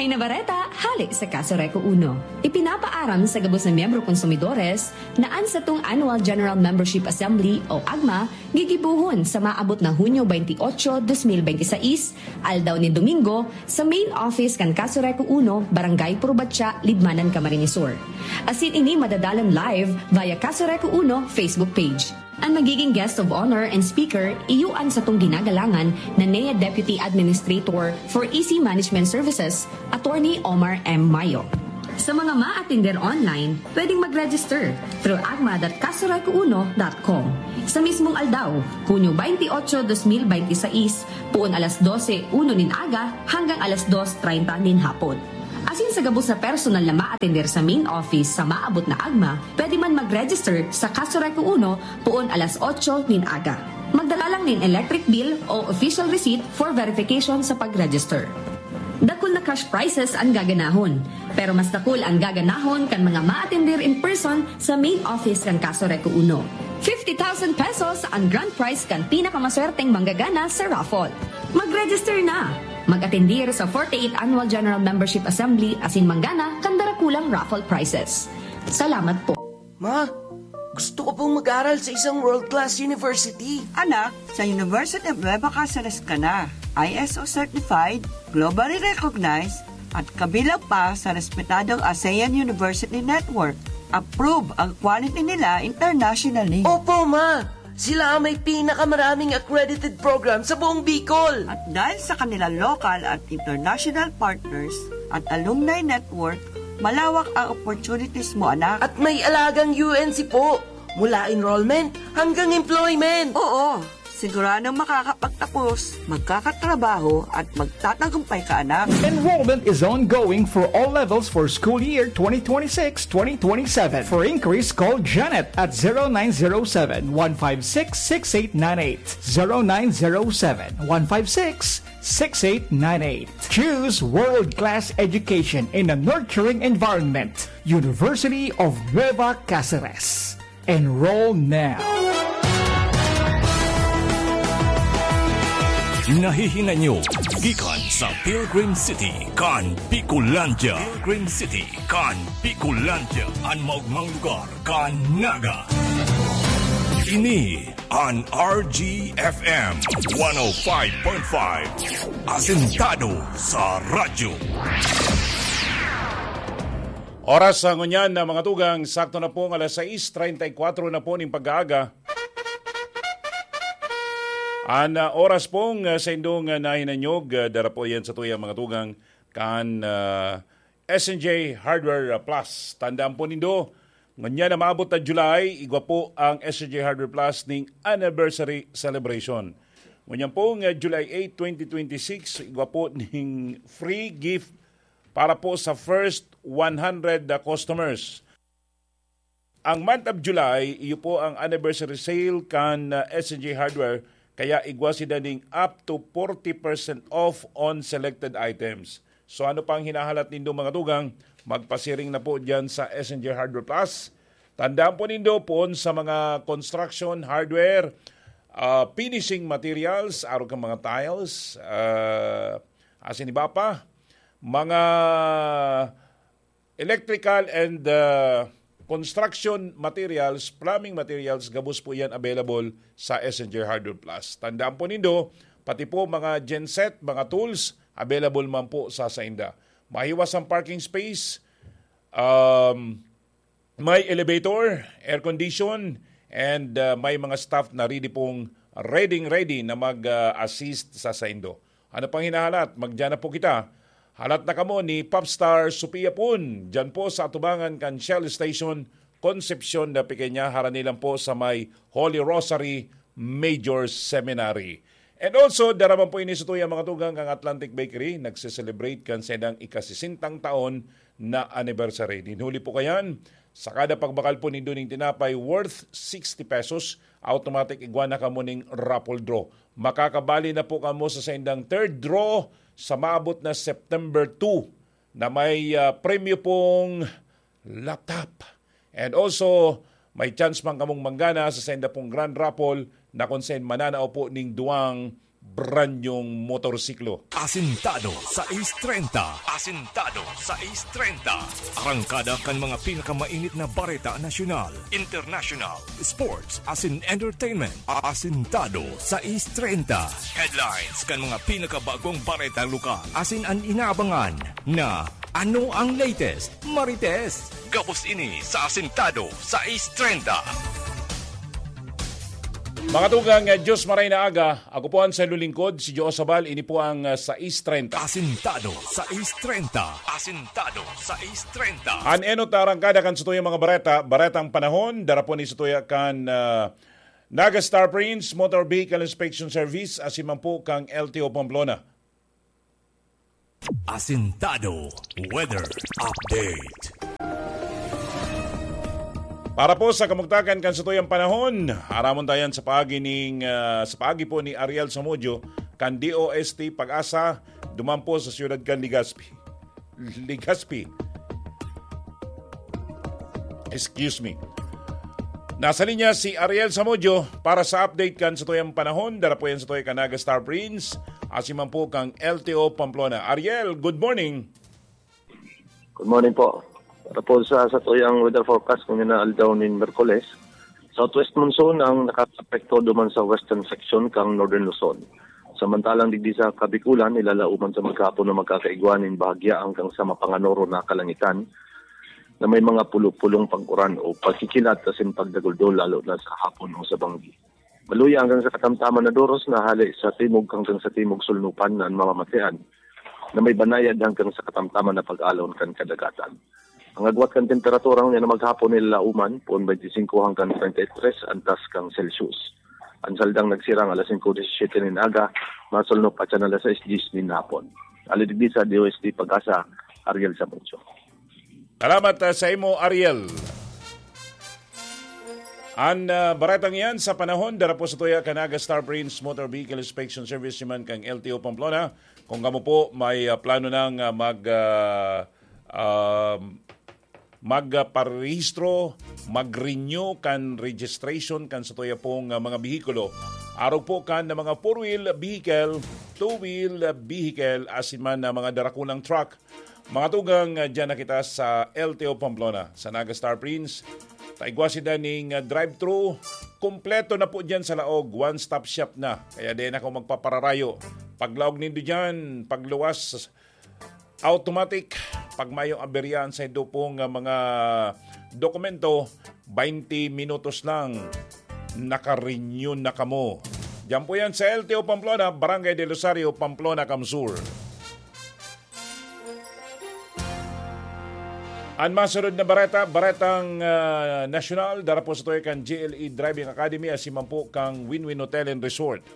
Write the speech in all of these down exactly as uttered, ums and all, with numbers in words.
Na bareta, hale sa Kaso Reco Uno. Ipinapaaram sa gabos na miyembro konsumidores na an satong Annual General Membership Assembly o agma gigibohon sa maabot na Hunyo twenty-eight, twenty twenty-six, aldaw nin Domingo, sa main office kan Kaso Reco Uno, Barangay Purbatya, Libmanan, Camarines Sur. Asin ini madadalan live via Kaso Reco Uno Facebook page. An magiging guest of honor and speaker, iyo an satong ginagalangan na N E A Deputy Administrator for E C Management Services, Attorney Omar M. Mayo. Sa mga maatender online, pwedeng mag-register through agma dot kasoreco uno dot com. Sa mismong aldaw, Hunyo twenty-eight, twenty twenty-six, puon alas dose uno nin aga hanggang alas dos treinta nin hapon. Asin sa gabos na personal na maatender sa main office sa maabot na agma, pwede man mag-register sa Kaso Reco Uno puon alas otso nin aga. Magdala lang nin electric bill o official receipt for verification sa pag-register. Dakul na cash prizes an gaganahon, pero mas dakul an gaganahon kan mga maatender in person sa main office kan Kaso Reco Uno. Fifty thousand pesos an grand prize kan pinakamaswerteng manggagana sa raffle. Mag-register na! Mag-atendir sa forty-eighth Annual General Membership Assembly asin manggana kan darakulang raffle prizes. Salamat po. Ma, gusto ko pong mag-aral sa isang world-class university. Anak, sa University of Nueva Caceres ka na. I S O certified, globally recognized, at kabilang pa sa respetadong ASEAN University Network. Approve ang quality nila internationally. Opo, ma! Sila ang may pinakamaraming accredited program sa buong Bicol. At dahil sa kanilang local at international partners at alumni network, malawak ang opportunities mo, anak. At may alagang U N C po, mula enrollment hanggang employment. Oo, siguradong makakapagtapos, magkakatrabaho at magtatagumpay ka, anak. Enrollment is ongoing for all levels for school year twenty twenty-six twenty twenty-seven. For inquiries, call Janet at zero nine zero seven, one five six, six eight nine eight. Zero nine zero seven, one five six, six eight nine eight. Choose world-class education in a nurturing environment. University of Nueva Caceres. Enroll now. Nahihinanyog gikan sa Pilgrim City kan Bicolandia. Pilgrim City kan Bicolandia, an maogmang lugar kan Naga. Ini an R G F M one oh five point five, asentado sa radyo. Oras sa ngunyan na mga tugang, sakto na pong alas sais treinta y cuatro na po ning pag-aaga. An ah, oras pong ah, sa indong ah, nahinanyog, ah, dara po yan sa tuyang mga tugang kan ah, S N J Hardware ah, Plus. Tandaan po nindo, ngunyan na maabot na July, igwa po ang S N J Hardware Plus ning anniversary celebration. Ngunyan pong ah, July eight, twenty twenty-six, igwa po ning free gift para po sa first one hundred na customers. Ang month of July, iyo po ang anniversary sale kan uh, S N J Hardware, kaya igwa sinda ning up to forty percent off on selected items. So ano pang hinahalat nindo mga tugang? Magpasiring na po dyan sa S N J Hardware Plus. Tandaan po nindo poon sa mga construction, hardware, uh, finishing materials, arog kan mga tiles, uh, asin iba pa, mga electrical and uh, construction materials, plumbing materials, gabos po yan available sa S N J Hardware Plus. Tandaan po nindo, pati po mga genset, mga tools, available man po sa sainda. Mahiwas ang parking space, um, may elevator, air condition, and uh, may mga staff na ready pong ready ready na mag-assist sa saindo. Ano pang hinahalat? Magdiyan na po kita. Halat na kamo ni Popstar Sophia Pun, dyan po sa atubangan kan Shell Station, Concepcion de Pequeña, harani lang po sa may Holy Rosary Major Seminary. And also, dara man po ini sa tuyang mga tugang kan Atlantic Bakery, nagse-celebrate kan sedang ikasisintang taon na anniversary. Dinhuli po kayan, sa kada pagbakal po nindo ning tinapay worth sixty pesos, automatic igwa na kamo ning raffle draw. Makakabali na po kamo sa saindang third draw sa maabot na September two na may ah, premyo pong laptop. And also, may chance man kamong manggana sa sainda pong grand raffle na kung saan mananao po ning duwang brand nyong motorsiklo. Asintado sais treinta. Asintado sais treinta. Arangkada kan mga pinakamainit na bareta nasyonal, international, sports, asin entertainment. Asintado sais treinta. Headlines kan mga pinakabagong bareta lokal. Asin an inaabangan na ano ang latest, Marites. Gabos ini sa Asintado sais treinta. Mga tugang, eh, Diyos maray na aga. Ako po ang sa lulingkod, si Joe Sabal. Ini po ang, ah, sais treinta. Asintado sais treinta. Asintado sais treinta. An enot na arangkada kan satuyang mga bareta, baretang panahon, dara po ni satuya kan, ah, Naga Star Prince Motor Vehicle Inspection Service, asin man po kang L T O Pamplona. Asintado Weather Update. Para po sa kamugtakan kan satuyang panahon, aramon tayan sa paagi ning, ah, sa paagi po ni Ariel Samudio kan D O S T Pag-asa, duman po sa siyudad kan Legazpi. Legazpi. Excuse me. Nasa linya si Ariel Samudio para sa update kan satuyang panahon. Dara po yan sa tuya kan Naga Star Prince, asin man po kang L T O Pamplona. Ariel, good morning. Good morning po. Para po sa satuyang weather forecast kung na aldaw nin Merkules, southwest monsoon ang nakapekto duman sa western section kang Northern Luzon. Samantalang digdi sa Kabikulan, ilalauman sa maghapon na magkakaigwa nin bahagya hanggang sa mapanganoro na kalangitan na may mga pulo-pulong pag-uran o pagkikilat asin pagdaguldol, lalo na sa hapon o sa banggi. Maluya hanggang sa katamtaman na doros na hale sa timog hanggang sa timog sulnupan na an mamamatean na may banayad hanggang sa katamtaman na pag-alon kan kadagatan. Ang agwat kan temperatura niya na maghapon ni Lauman, poon twenty-five hanggang thirty-three antas kan Celsius. Ang saldang nagsirang alas singko disisiyete nin aga, masulnop atyan alas sais diyes nin hapon. Hale digdi sa D O S T Pag-asa, Ariel Samudio. Salamat, ah, sa imo, Ariel. An, ah, baretang yan sa panahon, dara po sa tuya kan Naga Star Prince Motor Vehicle Inspection Service, man kang L T O Pamplona. Kung kamo po may, ah, plano nang, ah, mag, ah, um, magparehistro, mag-renew kan registration kan satuya pong, ah, mga behikulo. Arog po kan na mga four-wheel vehicle, two-wheel vehicle, asin man na mga darakulang truck. Mga tugang, ah, dyan na kita sa L T O Pamplona, sa Naga Star Prince. Taigwa sinda ning, ah, drive-thru. Kompleto na po dyan sa laog. One-stop shop na. Kaya di na ako magpapararayo. Paglaog nindo dyan, pagluwas, automatic. Pag mayong aberya an saindo pong, ah, mga dokumento, twenty minutos lang, naka-renew na kamo. Diyan po yan sa L T O Pamplona, Barangay del Rosario, Pamplona, Camsur. An masunod na bareta, baretang, ah, nasyonal, dara po sa tuya kan G L E Driving Academy, asin man po kang Win-Win Hotel and Resort.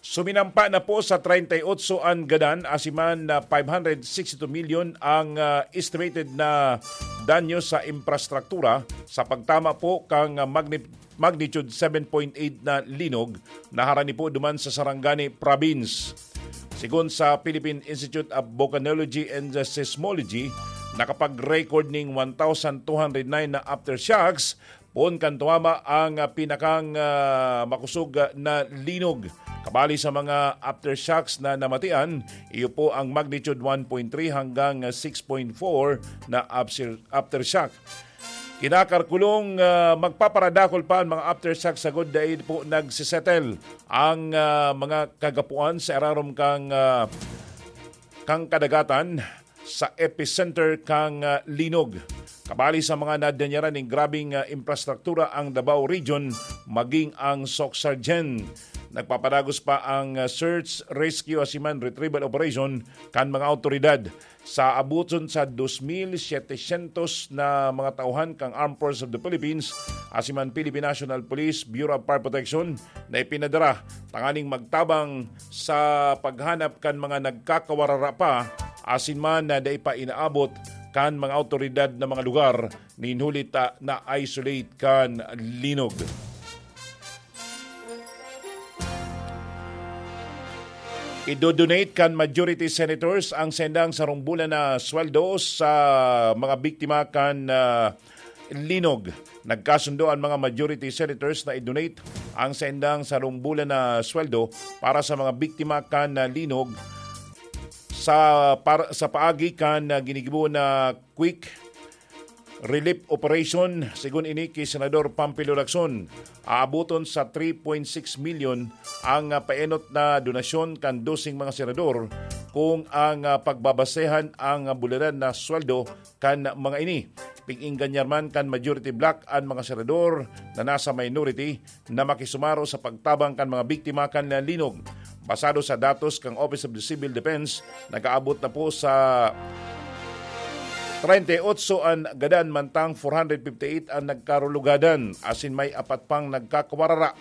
Suminampa na po sa treinta y ocho an gadan, asin man na five hundred sixty-two million ang, ah, estimated na danyo sa infrastruktura sa pagtama po kan, ah, magni-, magnitude seven point eight na linog na harani po duman sa Sarangani Province. Sigon sa Philippine Institute of Volcanology and Seismology, nakapag-record ning one thousand two hundred nine na aftershocks poon kan tumama ang, ah, pinakang, ah, makosog, ah, na linog. Kabali sa mga aftershocks na namatian, iyo po ang magnitude one point three hanggang, ah, six point four na after-, aftershock. Kinakalkulong, ah, magpaparadakol pa ang mga aftershocks sagod dai po nagsisettle ang, ah, mga kagapuan sa irarom kang, ah, kang kadagatan sa epicenter kang, ah, linog. Kabali sa mga nadanyaran ning grabeng, ah, infrastruktura ang Davao Region, maging ang Socsargen. Nagpapadagos pa ang, ah, search, rescue, asin man retrieval operation kan mga awtoridad. Sa abuton sa dos mil setecientos na mga tauhan kang Armed Forces of the Philippines, asin man Philippine National Police, Bureau of Fire Protection, na ipinadara tanganing magtabang sa paghanap kan mga nagkakawarara pa, asin man na dai pa inaabot kan mga awtoridad na mga lugar nin huli ta na-isolate kan linog. Idodonate kan majority senators ang sendang sarong bulan na sweldo sa mga biktima kan, ah, linog. Nagkasundo ang mga majority senators na i-donate ang saindang sarong bulan na sweldo para sa mga biktima kan, ah, linog sa, par-, sa paagi kan, ah, ginigibo na quick relief operation. Segun ini ki Senador Pampilo Lacson, aaboton sa three point six million ang, ah, paenot na donasyon kan doseng mga senador kung ang, ah, pagbabasehan ang, ah, bulanan na sweldo kan mga ini. Pig-inggan niya man kan majority bloc an mga senador na nasa minority na makisumaro sa pagtabang kan mga biktima kan linog. Basado sa datos kan Office of the Civil Defense, nag-aabot na po sa treinta y ocho an gadan, mantang four hundred fifty-eight an nagkarulugadan, asin may apat pang nagkakawarara.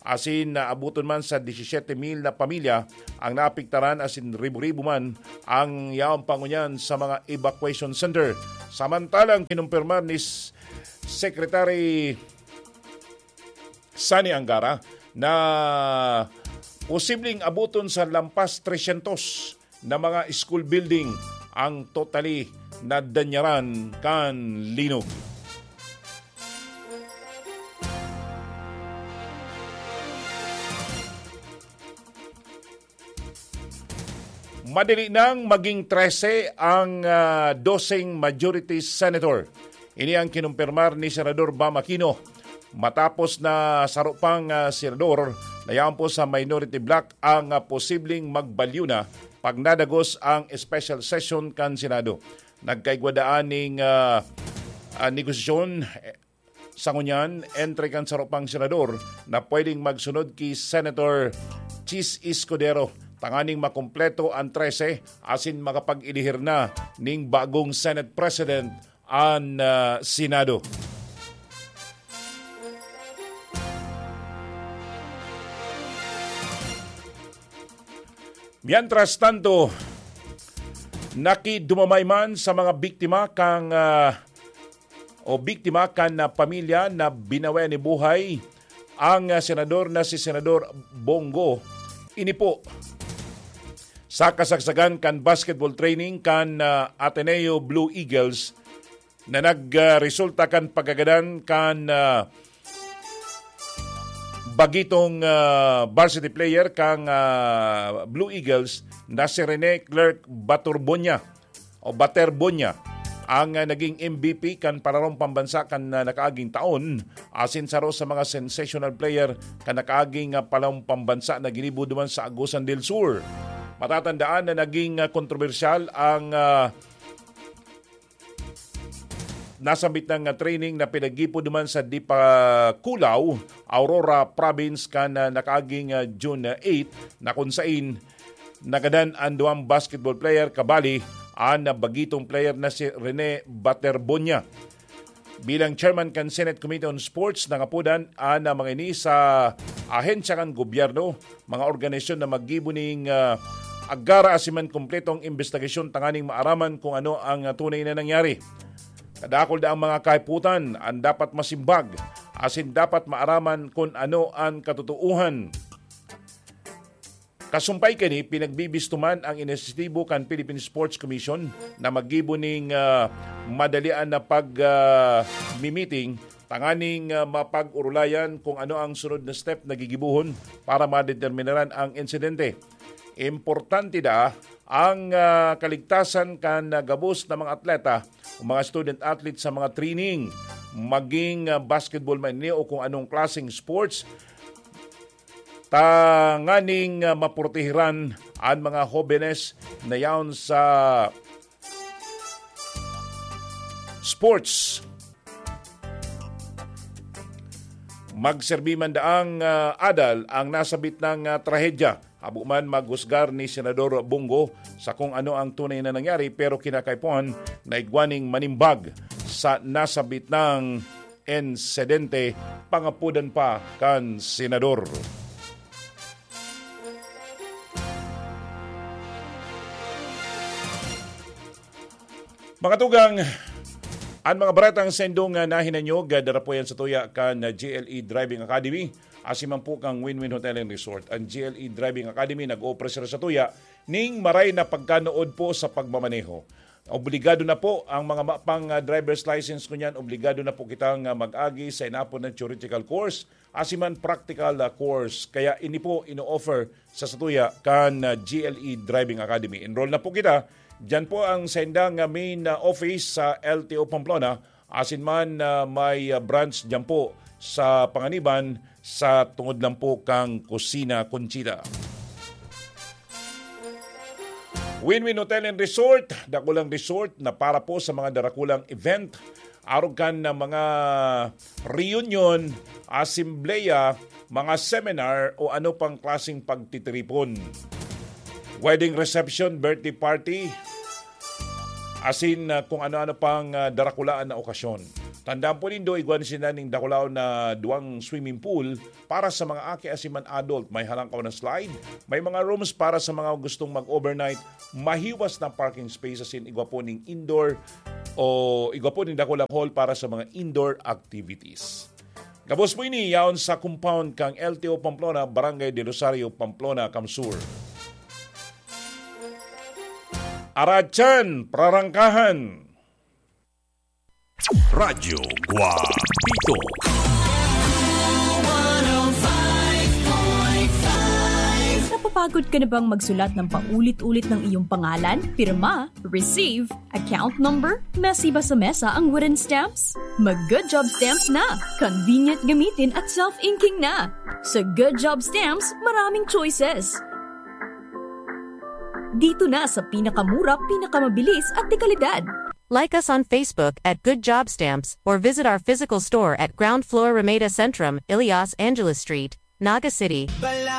Asin naaboton man sa disisyete mil na pamilya ang naapektaran, asin ribo-ribo man ang yaon pa ngunyan sa mga evacuation center. Samantalang kinumpirmar ni S-, Secretary Sani Angara na posibleng aboton sa lampas tresyentos na mga school building ang totally nadanyaran kan linog. Madali nang maging trese ang, ah, doseng majority senator. Ini ang kinumpirmar ni Senador Bam Aquino matapos na saro pang, ah, senador na yaon po sa minority bloc ang, ah, posibleng magbalyo na pag nadagos ang special session kan Senado. Nagkaigwa daan ning, ah, ah, negosasyon, eh, sa ngunyan entre kan saro pang senador na pwedeng magsunod ki Senator Chiz Escudero, tanganing makumpleto an trese asin makapag-elihir na ning bagong Senate President an, ah, Senado. Mientras tanto, nakidumamay man sa mga biktima kan, ah, o biktima kan, ah, pamilya na binawian ni buhay ang, ah, senador na si Senador Bong Go. Ini po sa kasagsagan kan basketball training kan, ah, Ateneo Blue Eagles na nag, ah, resulta kan pagkagadan kan, ah, bagitong, ah, varsity player kan, ah, Blue Eagles na si Rene Clerk Baturbonia o Baterbonia ang, ah, naging M V P kan palarong pambansa kan, ah, nakaaging taon, asin saro sa mga sensational player kan nakaaging, ah, palarong pambansa na ginibo duman sa Agusan del Sur. Matatandaan na naging, ah, kontrobersyal ang, ah, nasambit na nga training na pinaggipo duman sa Dipakulaw, Aurora Province kan, ah, nakaaging, ah, June eight, na kun sain nagadan an duwang basketball player kabali an, ah, bagitong player na si Rene Baterbonia. Bilang chairman kan Senate Committee on Sports, nangapodan an, ah, mga ini sa ahensya kan gobyerno, mga organisasyon na maggibo ning, ah, agara asin man kumpletong imbestigasyon tanganing maaraman kung ano ang, ah, tunay na nangyari. Kadakul daang mga kahiputan an dapat masimbag asin dapat maaraman kun ano an katotoohan. Kasumpay kani, pinagbibisto man ang inisyatibo kan Philippine Sports Commission na maggibo ning, ah, madalian na pag, ah, mimiting tanganing, ah, mapag-orolayan kung ano ang sunod na step na gigibohon para madeterminaran ang insidente. Importante da ang, ah, kaligtasan kan, ah, gabos na mga atleta o mga student athletes sa mga training, maging, ah, basketball man ini o kung anong klaseng sports, tanganing, ah, maprotehiran an mga hobenes na yaon sa sports. Magserbi man daang, ah, adal ang nasabit nang, ah, trahedya. Habo man maghusgar ni Senador Bong Go sa kung ano ang tunay na nangyari, pero kinakaipuhan na igwa ning manimbag sa nasabit nang insidente, pangapodan pa kan senador. Mga tugang, an mga baretang sendong, ah, nahinanyog, ah, dara po yan sa tuya kan, ah, G L E Driving Academy, asin man po kan Win-Win Hotel and Resort. An G L E Driving Academy nag-opresar sa tuya ning maray na pagkanood po sa pagmamaneho. Obligado na po ang mga mapang ah, driver's license ngunyan, obligado na po kitang ah, mag-agi sa inapod na theoretical course, asin man practical ah, course. Kaya ini po ino-offer sa satuya kan ah, G L E Driving Academy. Enroll na po kita. Diyan po ang saindang ah, main ah, office sa L T O Pamplona, asin man ah, may ah, branch diyan po sa Panganiban, sa tungod lang po kang Kusina Conchita. Win-Win Hotel and Resort, dakulang resort na para po sa mga darakulang event, arog kan na mga reunion, asembleya, mga seminar o ano pang klaseng pagtitiripon. Wedding reception, birthday party, asin ah, kung ano-ano pang ah, darakulaan na okasyon. Tandaan po nindo, igwa sinda ning dakulaon na duwang swimming pool para sa mga aki asin man adult. May halangkaw na slide, may mga rooms para sa mga gustong mag-overnight, mahiwas na parking space asin igwa po ning indoor o igwa po ning dakulang hall para sa mga indoor activities. Gabos po ini yaon sa compound kang L T O Pamplona, Barangay de Rosario, Pamplona, Kamsur. Aratsan, prarangkahan. Radyo Guapito. Napapagod ka na bang magsulat ng paulit-ulit ng iyong pangalan, pirma, receive, account number, mesiba sa mesa ang wooden stamps? Mag Good Job Stamps na! Convenient gamitin at self-inking na! Sa Good Job Stamps, maraming choices! Dito na sa pinakamura, pinakamabilis at dekalidad. Like us on Facebook at Good Job Stamps or visit our physical store at ground floor Ramada Centrum, Ilias Angeles Street, Naga City.